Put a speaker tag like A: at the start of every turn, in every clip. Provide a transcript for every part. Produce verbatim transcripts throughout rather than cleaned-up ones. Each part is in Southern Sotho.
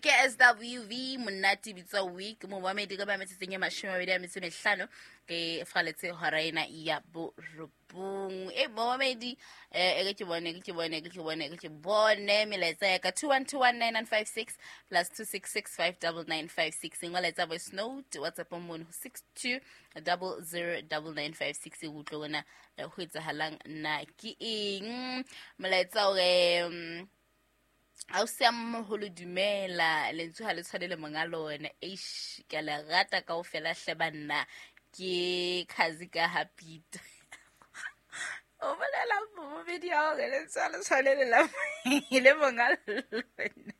A: Ke S W V monate bitsa week momamedi ka ba metsotsong e mashome a mabedi a metso e mehlano ke faletse hora ena ya borobong. E momamedi, eh e ke bone ke bone ke bone ke bone melaetsa ya ka two one two one nine nine five six plus two six six five nine nine five six. Ngola voice note, WhatsApp mono six two double zero nine nine five six. E utlwe wena ho etsahalang na ke eng. Molaetsa o re ha o se moholo, dumela, lentswe ha le tshwane le monga lona. Eish, ke a le rata kaofela hle banna. Ke khazi ka hapita o bolela momedi ya hore lentswe ha le tshwane le la le monga lona.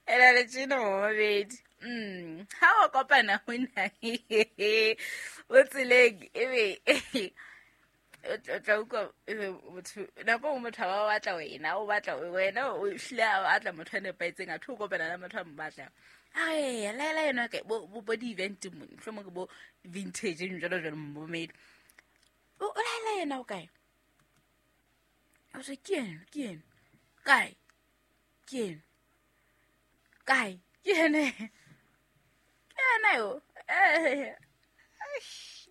A: Ena le tjena momedi, mm ha o kopana hona o tseleng, ebe o tla utlwa ebe motho nako nngwe motho a ba batla wena, o batla wena, o hlile a batla motho a nepahetseng, atho o kopana le motho a mo batlang. Are laela yena ke bo bo di-event mone, mohlomong ke bo vintage jalo jalo. Momedi o laela yena o kae? O re ke ena, ke ena kae, ke ena kae, ke ena, ke ena yo, eh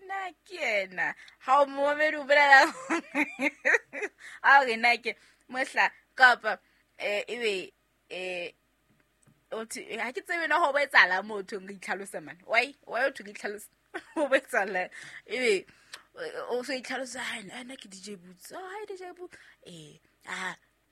A: na ke ena. Ha o momedi o bolela a re na ke mohla kapa eh ebe eh othi ha ke tsebe na ho bo etsahala motho nka itlhalosa man. Why why o ke itlhalosa ho bo etsahala ebe o so itlhalosa, ha nna ke D J Boots. Oh, hi D J Boots. eh ah